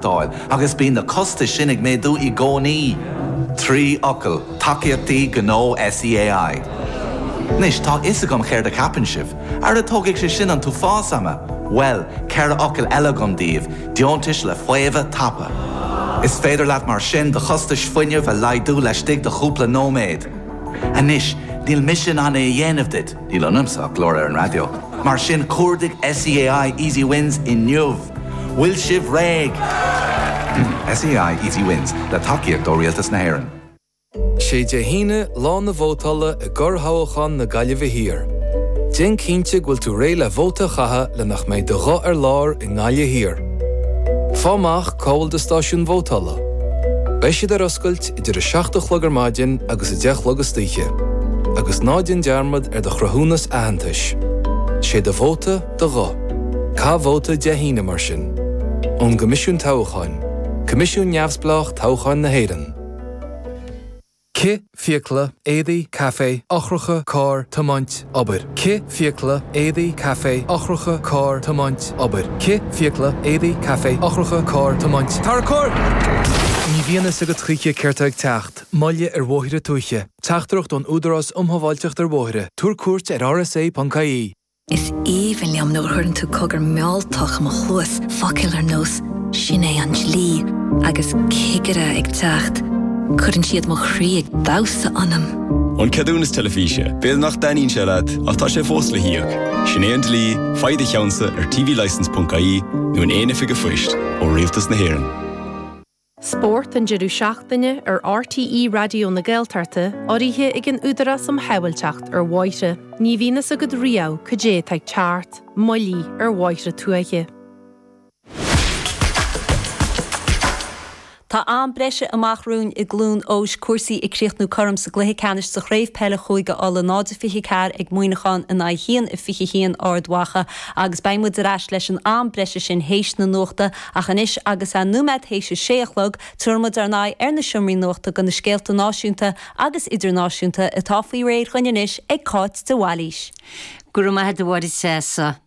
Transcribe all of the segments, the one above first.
Dáil, agus bíonn na costais sin ag méadú i gcónaí. 3 fhocal, tacaíochtaí gnó SEAI. Anois, tá 'fhios agam céard a cheapann sibh. Ara tógfaidh sé sin an t-uafás ama! Bhuel, 4 fhocal eile agam daoibh, deontais le faomhadh tapa. Is féidir leat mar sin do chostais fuinnimh a laghdú laistigh de chúpla nóiméad. Anois, níl mise in ann é a dhéanamh duit, níl ionamsa ach glór ar an raidió, mar sin cuardaigh SEAI Easy Wins inniu! Bhfuil sibh réidh? SEAI Easy Wins, le tacaíocht ó Rialtas na hÉireann. Sé Dé hAoine lá na vótála i gcorrthoghchán na Gaillimhe Thiar. Déan cinnte go bhfuil tú réidh le vóta a chaitheamh le nach mbeidh do ghuth ar lár i nGaillimh Thiar. Fáigh amach cá bhfuil do stáisiún vótála. Beidh siad ar oscailt idir 7 a chlog ar maidin agus 10 a chlog istoíche. Agus ná déan dearmad ar do chruthúnas aitheantais. Sé do vóta, do ghuth. Caith vóta Dé hAoine mar sin. Ón gCoimisiún Toghcháin, Coimisiún Neamhspleách Toghcháin na hÉireann. Cith, fiacla, éadaí, caife, eochracha, carr, tiomáint, obair. Cith, fiacla, éadaí, caife, eochracha, carr, tiomáint, obair. Cith, fiacla, éadaí, caife, eochracha, carr, tiomáint, Tarracóir! Ní bhíonn fhios agat choíche céard tá ag teacht, moille ar bhóithre tuaithe. Teachtaireacht ón Údarás um Shábháilteacht ar Bhóithre. Tabhair cuairt ar rsa.ie. Is aoibhinn liom nuair a chuireann tú cogar mealltach i mo chluas, focail ar nós 'sin é an dlí' agus 'cigire ag teacht'. Cuireann siad mo chroí ag damhsa ionam. An ceadúnas teilifíse, b'fhéidir nach dtaitníonn sé leat, ach tá sé fós le híoc. Sin é an dlí, faigh do cheannsa ar tvlicence.ie nó in aon oifig an phoist ó Rialtas na hÉireann. Spórt an deireadh seachtaine ar RTÉ Raidió na Gaeltachta urraithe ag an Údarás um Shábháilteacht ar Bhóithre. Ní bhíonn fhios agat riamh cad é atá ag teacht, moillí ar bhóithre tuaithe. Tá am breise amach romhainn i gCluain Eois, cúrsaí ag críochnú cothrom sa gcluiche ceannais sa Chraobh Peile Chúige Uladh, 0-24 ag Muineachán in aghaidh 1-21 Ard Mhacha agus beidh muid ar ais leis an am breise sin théis na nuachta Ach anois agus é nóiméad théis a sé a chlog, tabharfaidh muid ár n-aghaidh ar na seomraí nuachta do na scéalta náisiúnta agus idirnáisiúnta atá faoi réir dhuinn anois ag Cáit de Bhailís. Go raibh maith agat a Mháire Treasa.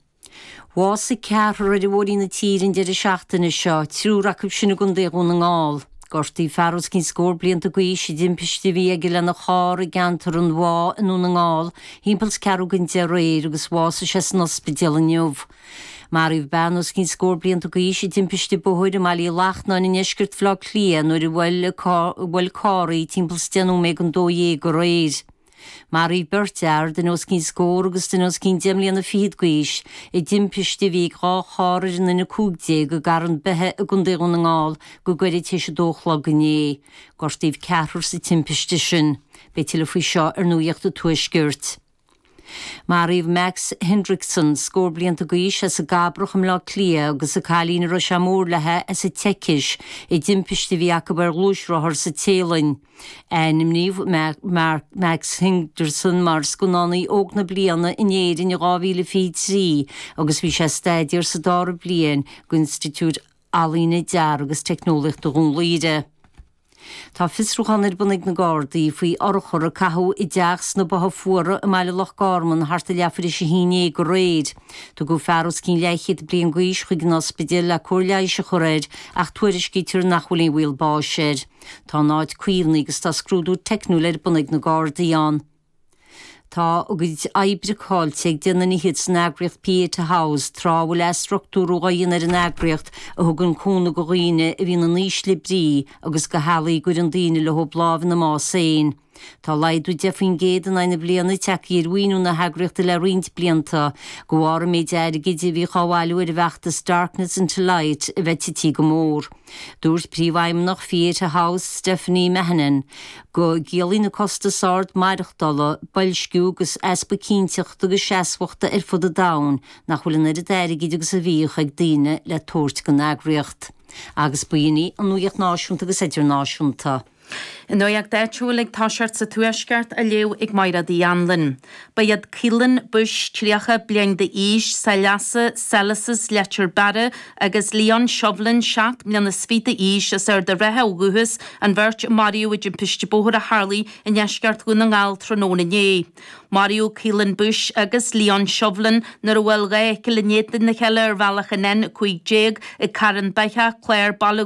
Bhásaigh ceathrar ar bhóithrí na tíre an deireadh seachtaine seo, triúr acu sin i gContae Dhún na nGall. Gortaíodh fear os cionn scór blianta d'aois i dtimpiste a bhí aige lena charr i gceantar an Bhá i nDún na nGall thimpeall is ceathrú don 10 aréir agus bhásaigh sé san ospidéal inniu. Maraíodh bean os cionn scór blianta d'aois i dtimpiste bóthair i mBaile Uí Lachnáin i ndeisceart Bhaile Átha Cliath nuair a bhuail carr í timpeall is 10 nóiméad don 12 aréir. Maraíodh beirt fhear, duine os cionn scór agus duine os cionn deich mbliana fichead d'aois, i dtimpiste a bhí ag 2 charr ar an N15 i gCarn Beithe i gContae Dhún na nGall go gairid tar éis a dó a chlog inné. Gortaíodh ceathrar sa timpiste sin. Beidh tuilleadh faoi seo ar Nuacht an Tuaiscirt. Maraíodh Max Hendrickson, scór blianta d'aois, as an gCabrach i mBleá Cliath agus an cailín a raibh sé mór léi as an tSeicis i dtimpiste a bhí acu ar ghluaisrothar sa Téalainn. Ainmníodh Max Hendrickson mar Scannánaí Óg na Bliana in Éirinn in 2023 agus bhí sé ag staidéar sa dara bliain d'Institiúid Ealaíne, Dearaidh agus Teicneolaíochta Dhún Laoghaire. Tá fiosrúchán ar bun ag na Gardaí faoi urchar a caitheadh i dteach sna Botha Fuara i mbaile Loch Garman thart ar leathuair théis a haon déag aréir. Tugadh fear os cionn leathchéad bliain d'aois chuig an ospidéal le cóir leighis a chur air ach tuairiscítear nach bhfuil aon bhaol báis air. Tá an áit caomhnaithe agus tá scrúdú teicniúil ar bun ag na Gardaí ann. Tá a gcuid oibre caillte ag 10 nduine fhichead san eagraíocht Pieta House tráth a bhfuil athstruchtúrú á dhéanamh ar an eagraíocht a thugann cúnamh do dhaoine a bhíonn in ísle brí agus do theaghlaigh a gcuireann daoine leo lámh ina mbás féin. Tá laghdú 10% in aghaidh na bliana tagtha ar mhaoiniú na heagraíochta le roinnt blianta, de bharr an méid airgid a bhíodh á bhailiú ar an bhfeachtas Darkness into Light a bheith tití go mór. Dúirt Príomhfheidhmeannach Pieta House, Stephanie Mahon, go gciallaíonn an costas ard maireachtála, boilsciú agus easpa cinnteachta agus seasmhachta ar fud an domhain nach bhfuil an oiread airgid agus a bhíodh ag daoine le tabhairt don eagraíocht. Agus b'in í an nuacht náisiúnta agus idirnáisiúnta. An nuacht áitiúil ag toiseacht sa Tuaisceart á léamh ag Mairéad Uí Anluain. Ba iad Keelan Bush, 30 bliain d'aois, Saileasa, Sellises, Leitir Beara, agus Leon Shovlin, 7 mbliana is fiche d'aois, as Ard an Rátha ó dhúchas, an bheirt a maraíodh i dtimpiste bóthair a tharlaigh i ndeisceart Dhún na nGall tráthnóna inné. Maraíodh Keelan Bush agus Leon Shovlin nuair a bhuail 2 fheithicil in éadan a chéile ar bhealach an N15 ag Carn Beithe, Clár, Baile.